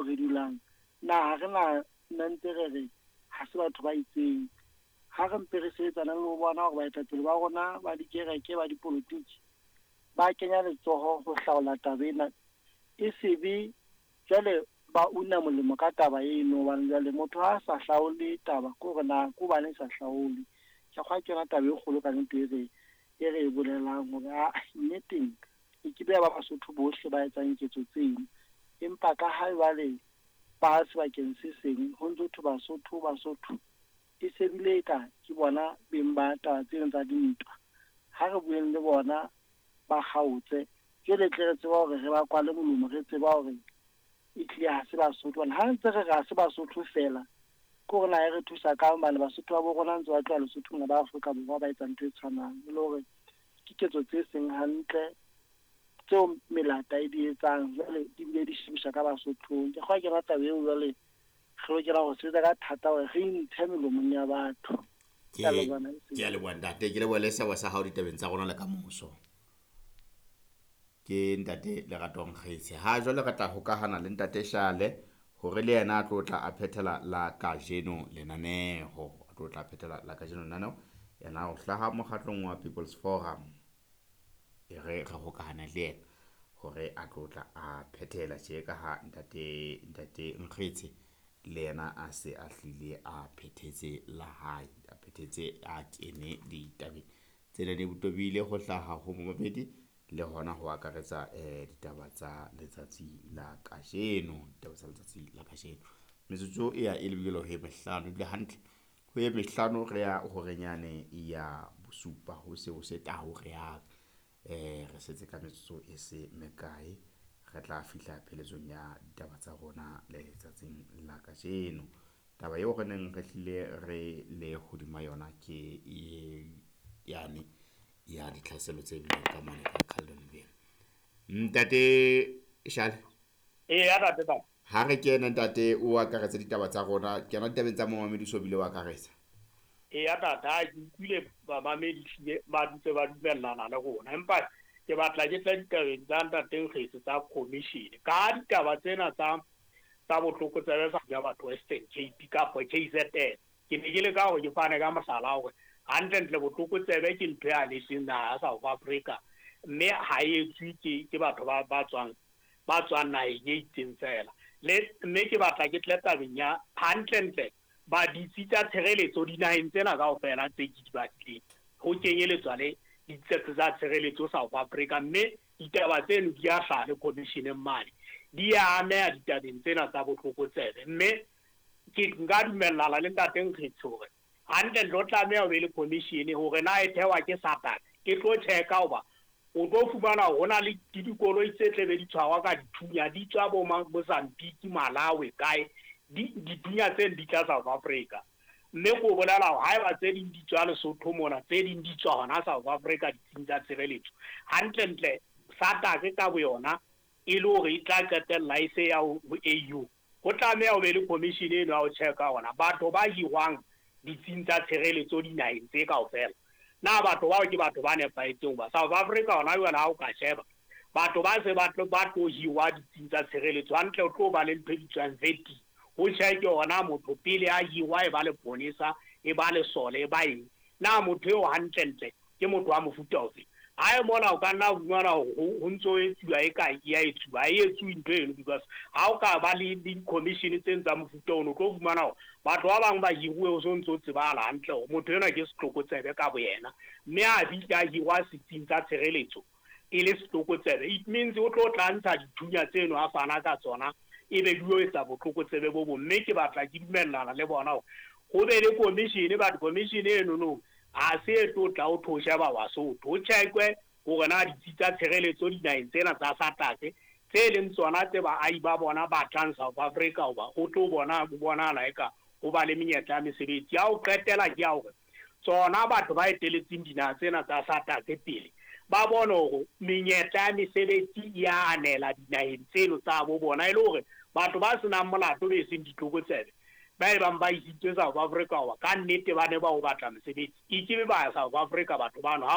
re dulang, na ha re na nna ntse re re ha se batho ba itseng. Ha re mpe re sebetsana le ho bona hore baetapele ba rona ba dikereke, ba dipolotiki, ba kenya letsoho ho hlaola taba ena. E se be jwale ba una molemo ka taba eno, hobane jwale motho ha a sa hlaole taba ke hore na ke hobane e sa hlaolwe. Ke kgolwa ke yona taba e kgolo ka nnete e re e bolelang hore nneteng e ke be ya ba Basotho bohle ba etsang ketso tseno. Empa ka ha jwale ba sebakeng se seng ho ntso thwe Basotho, Basotho, e se bile eka ke bona beng ba taba tseno tsa dintwa. Ha re bueng le bona ba kgaotse, jwale tle re tseba hore re ba kwale molomo, re tseba hore e tlile ha se Basotho. Hobane ha ntse re re ha se Basotho feela, ke hore na e re thusa kang, hobane Basotho ba bo rona ntse ba tloha Lesotho mona ba Afrika Borwa ba etsa ntho e tshwanang. E le hore ke ketso tse seng hantle tseo melata e di etsang, jwale di bile di shebiswa ka Basothong. Ke kgolwa ke yona taba eo jwale re lokela ho sebetsa ka thata hore re intshe melomong ya batho. Ke a leboha ntate, ke leboha le seabo sa hao ditabeng tsa rona le ka moso. Ke ntate Lerato Nkgetse. Ha jwale re tla hokahana le ntate Shale hore le yena a tlo tla a phethela la kajeno lenaneho. A tlo tla phethela la kajeno lenaneho. Yena o hlaha mokgatlong wa People's Forum. E re re hokahane le yena hore a tlo tla a phethela tje ka ha ntate Nkgetse le yena a se a hlile a phethetse la hae, a phethetse a kene ditabeng tsena di tobile ho hlaha ho momamedi le hona ho akaretsa ditaba tsa letsatsi la kajeno, ditaba tsa letsatsi la kajeno. Metsotso e ya e lebile ho e mehlano, ebile hantle ho e mehlano re ya horenyane ya bosupa, ho se ho se tau re yang. Re setse ka metsotso e se mekae, re tla fihla pheletsong ya ditaba tsa rona letsatsing la kajeno. Taba eo re neng re hlile re le hodima yona ke e yane ya ditlhaselo tse bileng ka mane ka Carltonville. Ntate Shale. Eya, ntate Tau. Ha re kene ntate o akaretse ditaba tsa rona, kena ditabeng tsa momamedi so bile o akaretsa. Eya tata, ha ke utlwile bamamedi hlile ba dutse ba dumellana le rona, empa ke batla ke tle ditabeng tsa ntate Nkgetse tsa commission. Ka ditaba tsena tsa botlokotsebe sa ya batho Western Cape kapa KZN, ke ne ke leka hore ke fane ka mohlala hore hantlentle botlokotsebe ke ntho e anetseng naha ya South Africa, mme ha e etswe ke batho ba tswang naheng e itseng fela. Le mme ke batla ke tle tabeng ya hantlentle ba ditsi tsa tshireletso dinaheng tsena kaofela tse ke di badileng, ho kenyeletswa le ditsi tsa tshireletso South Africa, mme ditaba tseno di a hlaha le commissioneng mane, di a ameha ditabeng tsena tsa botlokotsebe. Mme ke nka dumellana le ntate Nkgetse hore hantlentle o tlameha ho be le commission hore na e thewa ke SADC, e tlo checka hoba o tlo fumana hore ho na le dikoloi tse tle be di tshwarwa ka dithunya, di tswa bo Mozambique, Malawi, kae, dithunya tseno di tla South Africa. Mme ko bolela hore haeba tse ding di tswa Lesotho mona, tse ding di tswa hona South Africa ditsing tsa tshireletso, hantlentle SADC ka boyona e le hore e tla qetella e se ya ho AU. Ho tlameha ho be le commission eno ya ho checka hona batho ba hirwang ditsing tsa tshireletso dinaheng tse kaofela, na batho bao ke batho ba nepahetseng. Hoba South Africa hona jwale ha o ka sheba batho ba se ba tlo hirwa ditsing tsa tshireletso hantle, o tlo ba le ntho e bitswang vetting, ho check hona motho pele a hirwa, e ba leponesa, e ba lesole, e ba eng, na motho eo hantlentle ke motho wa mofuta ofe. Ha e mona o ka nna fumana hore ho ntso etsuwa e ka ya etsuwa, ha e etsuwe ntho eno, because ha o ka ba le di-commission tse tsa mofuta ono, o tlo fumana hore batho ba bang ba hiruwe ho so ntso tsebahala hantle hore motho enwa ke setlokotsebe ka boyena, mme a fihla a hirwa setsing tsa tshireletso e le setlokotsebe, it means o tlo tla ntsha dithunya tseno a fana ka tsona, e be di yo etsa botlokotsebe bo bong. Mme ke batla ke dumellana le bona hore ho be le commission, but commission eno no ha se e tlo tla o tho sheba Basotho, ho checkwe hore na ditsi tsa tshireletso dinaheng tsena tsa SADC tse leng tsona tse baahi ba bona ba tlang South Africa, hoba ho tlo bona ho bonahala eka ho ba le menyetla ya mesebetsi. Ya ho qetela ke ya hore tsona batho ba eteletseng dinaha tsena tsa SADC pele ba bone hore menyetla ya mesebetsi ya anela dinaheng tseno tsa bo bona, e le hore batho ba senang molato be seng ditlokotsebe ba e bang ba isitswe South Africa hoba ka nnete ba ne ba o batla mosebetsi, e ke be ba ya South Africa batho bano ha